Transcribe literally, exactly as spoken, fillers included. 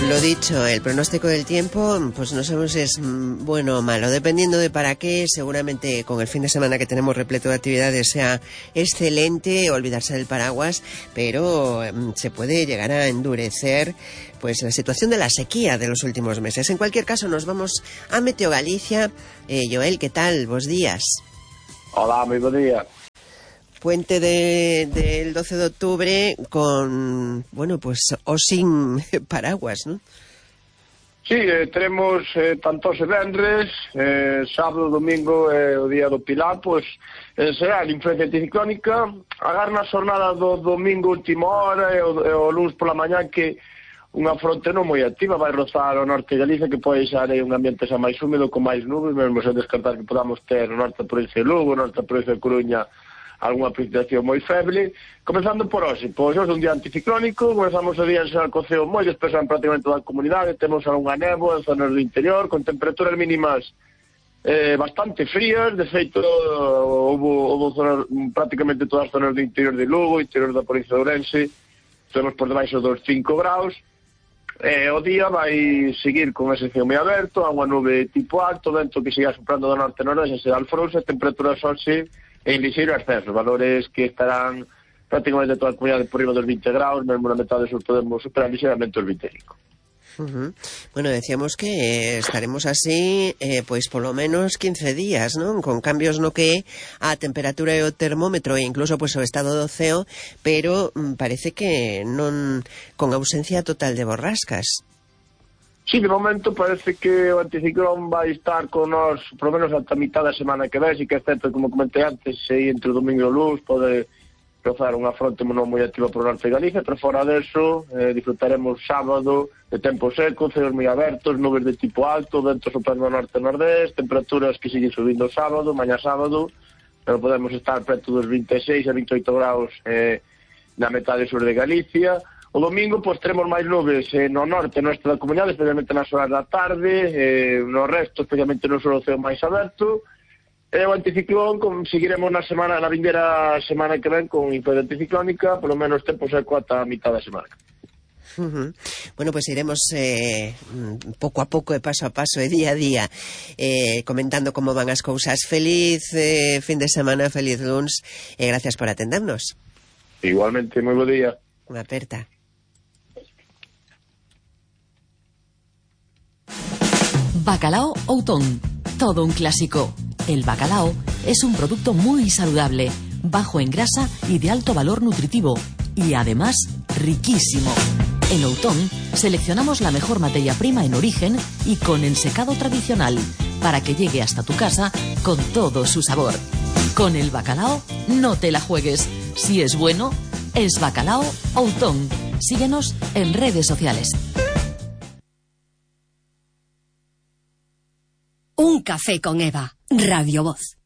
Lo dicho, el pronóstico del tiempo, pues no sabemos si es bueno o malo, dependiendo de para qué. Seguramente con el fin de semana que tenemos repleto de actividades sea excelente olvidarse del paraguas, pero um, se puede llegar a endurecer pues la situación de la sequía de los últimos meses. En cualquier caso, nos vamos a Meteo Galicia. Eh, Joel, ¿qué tal? Bos días. Hola, muy buen día. Puente de, del doce de octubre con, bueno, pues o sin paraguas, ¿no? Sí, eh, tenemos eh, tanto se vendres, eh, sábado, domingo e eh, o día do Pilar, pois eh, será a influencia anticiclónica. Agar na xornada do domingo última hora e o, e o lunes pola mañá que unha fronte non moi activa vai rozar o norte de Galicia, que pode ser un ambiente xa máis húmedo con máis nubes, mesmo sen descartar que podamos ter o norte da provincia de Lugo, o norte da provincia de Coruña algunha precipitación moi feble. Comezando por hoxe, pois hoxe é un día anticiclónico, comezamos o día en San Coceo moi disperso en prácticamente toda a comunidade, temos algunha néboa en zonas do interior, con temperaturas mínimas eh, bastante frías. De feito, houve, houve zonas, prácticamente todas as zonas do interior de Lugo, interior da provincia de Ourense, temos por debaixo dos cinco graus. Eh, o día vai seguir con ese ceo moi aberto, a unha nube tipo alto, vento que siga soprando do norte-noroeste, será alfrouxa, temperaturas hoxe en lixeiro ascenso, valores que estarán prácticamente toda a comunidade por riba dos vinte graus, mesmo na metade sur podemos superar lixeiramente os vinte e cinco. Uh-huh. Bueno, decíamos que eh, estaremos así eh, pois polo menos quince días, non? Con cambios no que a temperatura e o termómetro e incluso pois o estado do ceo, pero mm, parece que non con ausencia total de borrascas. Sí, de momento parece que o anticiclón vai estar con nós por lo menos ata a mitad da semana que ven, e que é certo, como comentei antes, se entre o domingo e o luns pode rozar unha fronte non moi activa por o norte de Galicia, pero fora deso eh, disfrutaremos sábado de tempo seco, ceos moi abertos, nubes de tipo alto, vento soprando norte e nordeste, temperaturas que siguen subindo sábado, mañá sábado, pero podemos estar preto dos vinte e seis a vinte e oito graus eh, na metade sur de Galicia. O domingo, pois, teremos máis nubes eh, no norte, no este da comunidade, especialmente nas horas da tarde, eh, no resto, especialmente no sur do ceo máis aberto. E o anticiclón, seguiremos na semana, na vindeira semana que ven con influencia anticiclónica, polo menos tempo seco ata a mitad da semana. Uh-huh. Bueno, pues iremos eh, pouco a pouco e paso a paso e día a día eh, comentando como van as cousas. Feliz eh, fin de semana, feliz luns e gracias por atendernos. Igualmente, moi bo día. Unha aperta. Bacalao Outón, todo un clásico. El bacalao es un producto muy saludable, bajo en grasa y de alto valor nutritivo, y además riquísimo. En Outón seleccionamos la mejor materia prima en origen y con ensecado tradicional, para que llegue hasta tu casa con todo su sabor. Con el bacalao no te la juegues. Si es bueno, es Bacalao Outón. Síguenos en redes sociales. Un café con Eva, Radio Voz.